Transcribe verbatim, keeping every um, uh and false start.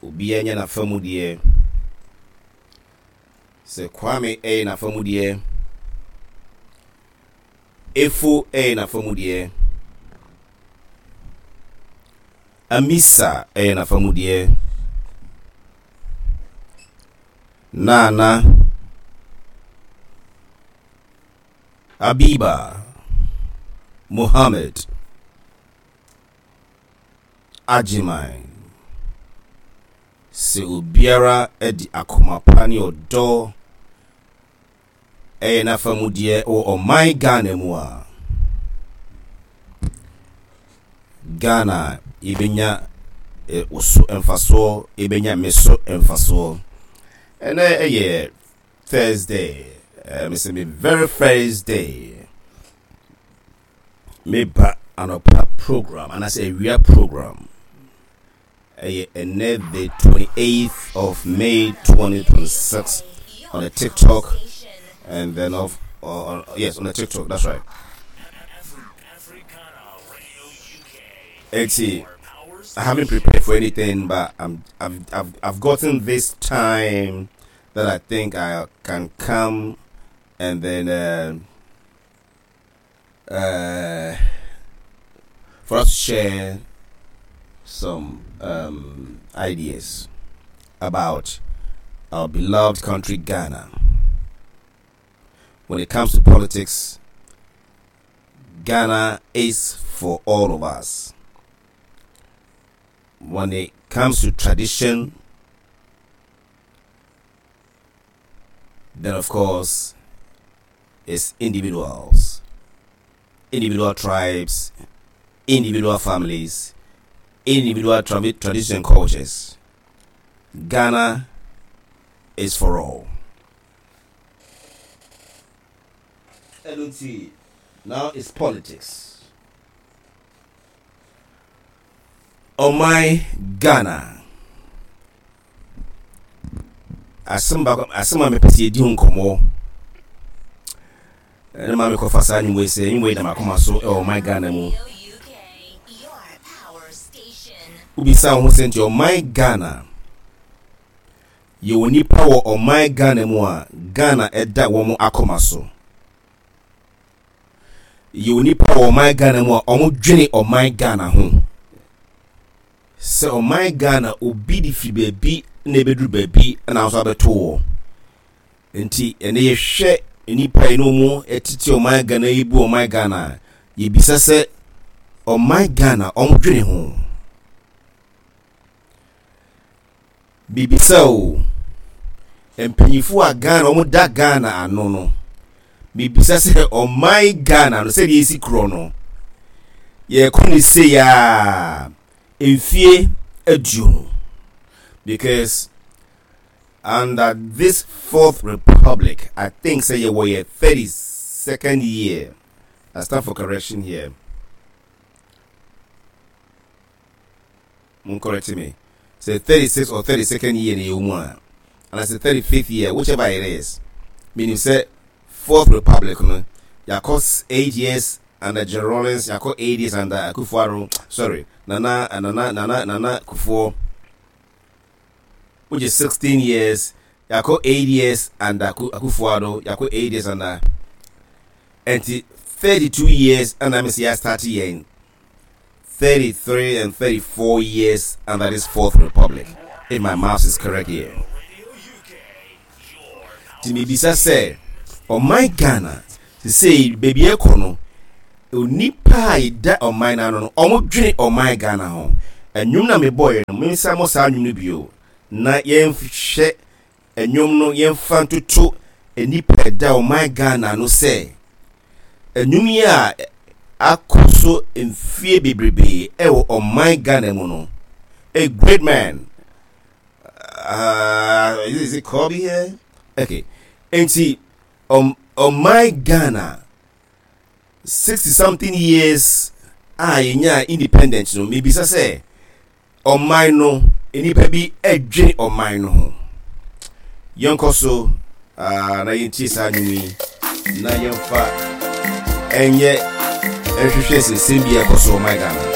Obiara nyɛ n'afa mu deɛ. Sɛ Kwame ɛyɛ n'afa mu deɛ, Efo ɛyɛ n'afa mu deɛ, Amisa ɛyɛ n'afa mu deɛ, Nana, Abiba, Mohammed, Agyeman. Sɛ obiara de akoma pa ne ɔdɔ ɛyɛ n'afa mu deɛ wɔ ɔman Ghana mu a, Ghana yɛbɛnya wo so mfasoɔ, yɛbɛnya me so mfasoɔ. Ɛnɛ ɛyɛ Thursday, uh, mese me very first day meba anɔpa program anaasɛ awia program. Ɛyɛ ɛnɛ the twenty-eighth of May twenty twenty-six on the TikTok and then of uh, yes, on the TikTok, that's right. Eti, I haven't prepared for anything, but I'm, I've, I've, I've gotten this time that I think I can come and then uh, uh, for us to share some um, ideas about our beloved country, Ghana. When it comes to politics, Ghana is for all of us. When it comes to tradition, then of course it's individuals, individual tribes, individual families, individual tra- tradition and cultures. Ghana is for all. L T. Now it's politics. Ɔman Ghana. Asɛm baako, asɛm a mepɛ sɛ yɛdi ho nkɔmmɔ ɛne ma mekɔfa saa nnwom yi sɛ nnwom yi da m'akoma so ɛwɔ ɔman Ghana mu. Wobisa wo ho sɛ, nti ɔman Ghana, yɛwɔ nipa wɔ ɔman Ghana mu a Ghana ɛda wɔn akoma so? Yɛwɔ nipa wɔ ɔman Ghana mu a wɔn dwene ɔman Ghana ho sɛ ɔman Ghana obi de firi baabi na ebɛduru baabi na nso abɛto wɔ? Nti ɛnɛ yɛhwɛ nipa yi no mu ɛtete ɔman Ghana yi bu ɔman Ghana a, yɛbisa sɛ ɔman Ghana, wɔn dwene ho? Bibisa o, mpanyinfoɔ a Ghana wɔn da Ghana ano no, bibisa sɛ ɔman Ghana no, sɛdeɛ esi korɔ no, yɛkɔ ne se yaa mfie aduonu, because under this Fourth Republic, I think say yɛwɔ yɛ thirty second year. I stand for correction here, mo correct me say thirty six or thirty second year na yɛwɔ mu a, and I say thirty fifth year, whichever it is, meaning say Fourth Republic no, yɛakɔ eight years under Jerry Rawlings, yɛakɔ eight years under Akufo-Addo, sorry, Nana Nana Nana Nana Kufuor, which is sixteen years. Yɛakɔ eight years under Akufo-Addo, yɛakɔ eight years under, nti thirty-two years, ɛna mi si yɛ start yɛn thirty-three and thirty-four years under this Fourth Republic, if my maths is correct here. Nti mebisa sɛ ɔman Ghana sesei baabi ɛkɔ no, onipa a yɛda ɔman no ano no, ɔmo dwene ɔman Ghana ho? Ɛnwom na mebɔɔyɛ no, mensa mɔ saa nnwom no bio na yɛnhwɛ ɛnwom no, yɛmfa ntoto nipa ɛda ɔman Ghana no sɛ ɛnwom yi a akɔ so mfie bebrebe ɛwɔ ɔman Ghana mu no. A great man, uh, is, is it Kobe here? Okay, nti um, ɔman Ghana, sixty something years a yɛnya independence no, mebisa sɛ ɔman no, nnipa bi ɛdwene ɔman no ho? Yɛnkɔ so uh, na yɛntie saa nnwom yi na yɛmfa ɛnyɛ ɛhwehwɛ sɛsɛm bi a ɛkɔ so ɔman Ghana.